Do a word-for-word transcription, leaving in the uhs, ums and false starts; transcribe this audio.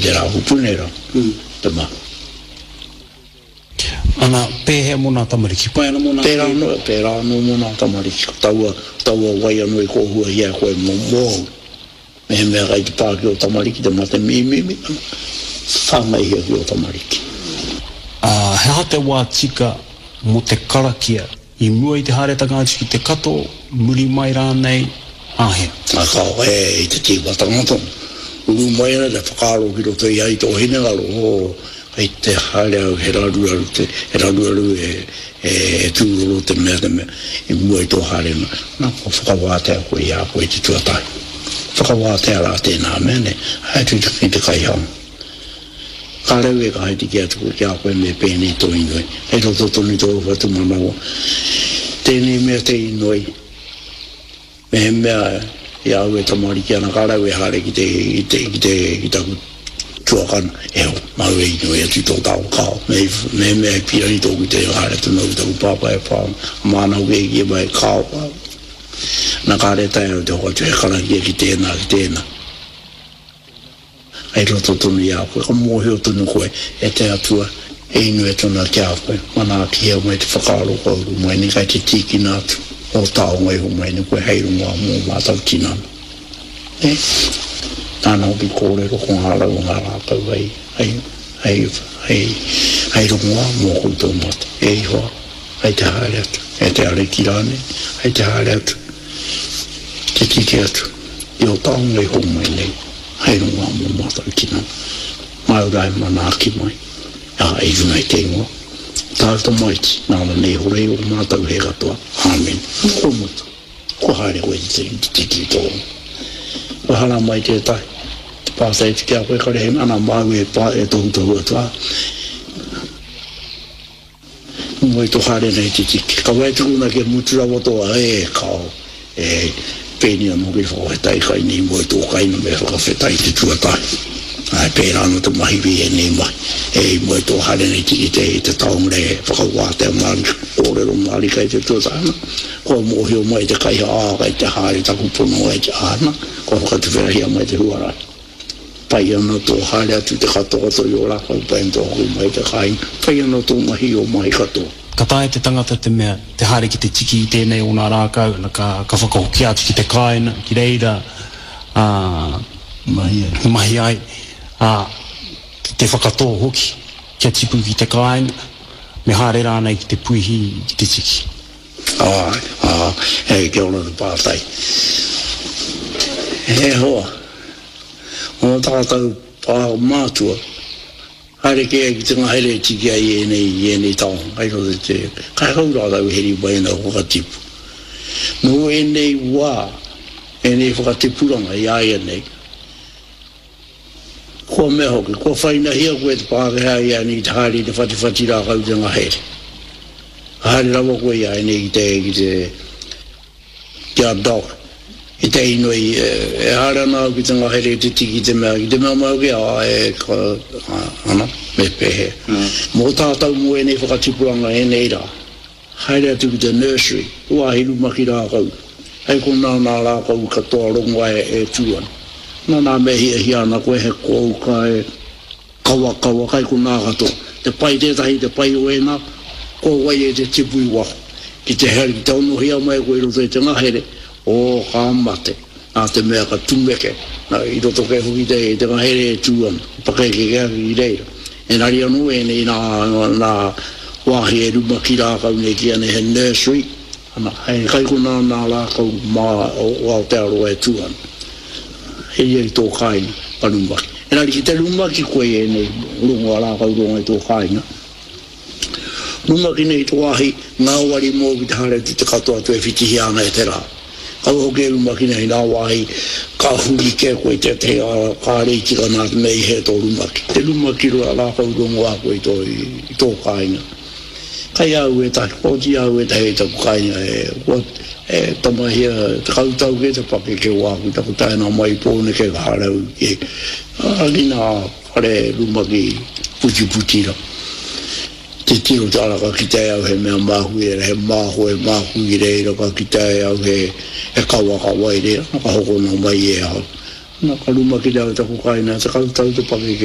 koe tērā kupu nei rā, te mahi. Ana, pēhea mō nā tamariki? Pai ana mō nā Pērā anō, pērā anō mō nā tamariki. Ko taua, taua wai anō i kōhuahia e koe mō, mōu. Mehemea kai te pā ki ō tamariki te mate mīmimi, ana, whāngaihia ki ō tamariki. Ā, he aha te wā tika mō te karakia i mua i te haeretanga atu ki te kato, muri mai rānei, āhea? Ā, kāo, e, i te tīmatanga tonu. Uru mai ana te whakaaro ki roto i a i tō hinengaro, oh, kei te haere au, he raruraru te, he raruraru e, e, e tūroro te mea, te mea, i mua i tō haerenga. Nā, kua whakawātea koe i a koe i te tuatahi. Whakawātea rā tēnā mea, nē, haere atu ki te kaihanga. Ka rau e ka haere ki atu koe ki a koe me pēnei tō inoi. Kei roto tonu tō whatumanawa. Tēnei mea te inoi, mehemea i a au e tamariki ana, ka rau e haere ki te, ki te, ki te, ki taku tuakana, e ho, māu e inoi atu i tō tāua kao. Me, mehemea e pīrangi tōku te haere atu nōku taku pāpā e pā ana, māna hoki e kī mai, kao, kao. Na kāre taea au te hoatu he karakia ki tēnā, ki tēnā. Kei roto tonu i a koe, ka mōhio tonu koe e te Atua e inoi atu ana ki a koe, manaakihia mai te whakaaro kua uru mai nei, kai te tīkina atu ō taonga iho mai nei koe hei rongoā mō mātou tinana. Nē? Nāna hoki kōrero ko ngā rau o ngā rākau hei, hei, hei, hei, hei rongoā mō koutou mate. E Ihoa, hei te haere atu, e te Ariki rānei, hei te haere atu, te tiki atu i ō taonga iho mai nei. Hei rongoā mō mātou tinana. Māu rā e manaaki mai, ā, i runga i te ingoa o tāu Tamaiti, nāna nei hora i ō mātou hē katoa. Āmine. Ana kua mutu. Kua haere koe ki te tiki i tō. Kua hara mai tētahi, te pātai atu ki a koe, kare he ana māu e pā, e tohutohu atu, ā. Moe to haere nei te tiki. Kaua e tukuna kia mutu rawa to e kao e pēnei anō ki te whakawhetai kai nei moe tō kainga me whakawhetai te tuatahi. Ae pērā anō te mahi i ēnei mahi. E i moe tō haere nei tiki te te taonga e whakawātea mārika, kōrero mārika i te tuatahi ana. Kua mōhio mai te kaiha ā kai te haere taku pononga i te āna, kua whakatuwherahia mai te huarahi. Pai ana tō haere atu te katoa i ō rākau, pai ana tō hoki mai i te kāinga, pai ana tō mahi i ō mahi katoa. Ka taea te tangata te mea, te haere ki te tiki i tēnei o ngā rākau, ana ka, ka whakahokia atu ki te kāinga, ki reira, ā, Mahi ai. mahi ai, ā, ki te whakatō hoki, kia tipu ki te kāinga, me haere rānei ki te puihi ki te tiki. Āe, ā, e, kia ora te pātai. E hoa, ō tātou pā mātua, haere kē ai ki te ngahere e tiki ai i ēnei, i ēnei taonga, kai roto i te, kai hau rātou e heri mai ana whakatipu. Nō ēnei wā, ēnei whakatipuranga i āianei, kua mea hoki, kua whainahia koe e te Pākehā i āianei ki te haere i te whatiwhati rākau i te ngahere. Ka haere rawa koe i āianei ki te, ki te, Ki a Doc, i te inoi, e haere ana au ki te ngahere i te tiki te mea, ki te mea mai hoki, āe, ka, ana, me pēhea. Mō tātou mō ēnei whakatipuranga ēnei rā, haere atu ki te nursery, te wāhi rumaki rākau, hei konā nā rākau katoa rongoa e tū ana. Nā, nā me hiahia ana koe he kouka, he. Kawakawa kai konā katoa. Te pai tētahi, te pai o ēnā, ko wai e te tipu i waho. Ki te here, ki te onohia mai koe i roto i te ngahere, ō, ka mate. Nā te mea ka tumeke, nā, i roto kē hoki te, te ngahere e tū ana, pakeke kē ake ki reira. Engari anō ēnei nā, nā wāhi e rumaki rākau nei ki ana he nursery, Ana, hei kai konā nā rākau mā o Aotearoa e tū ana. He ia i tō kāinga, ka rumaki. Engari ki te rumaki koe i ēnei rongoa rākau rongo i tō kāinga, rumaki nei i te wāhi ngāwari mōu ki te haere atu te katoa atu e whitihia ana e te rā. Kaua hoki e rumaki nei nā wāhi ka huri kē koe i tētehi ara kāre i tika nā te mea i hē tō rumaki. Te rumaki rākau rongoā koe i tō, i tō kāinga. Kai a au ētahi, kua oti a au ētahi i taku kāinga e, kua, e tamahia tekau tau kē te pakeke o āku taku taenga mai i Pōneke ka haere au ki, ki nā whare rumaki putiputi ra. Titiro te ara ka kite ai au he mea māku i reira, he māhoe māku i reira, ka kite ai au he, he kawakawa i reira, na ka hokona mai e ahau. Na ka rumakina au taku kāinga, tekau tau te pakeke.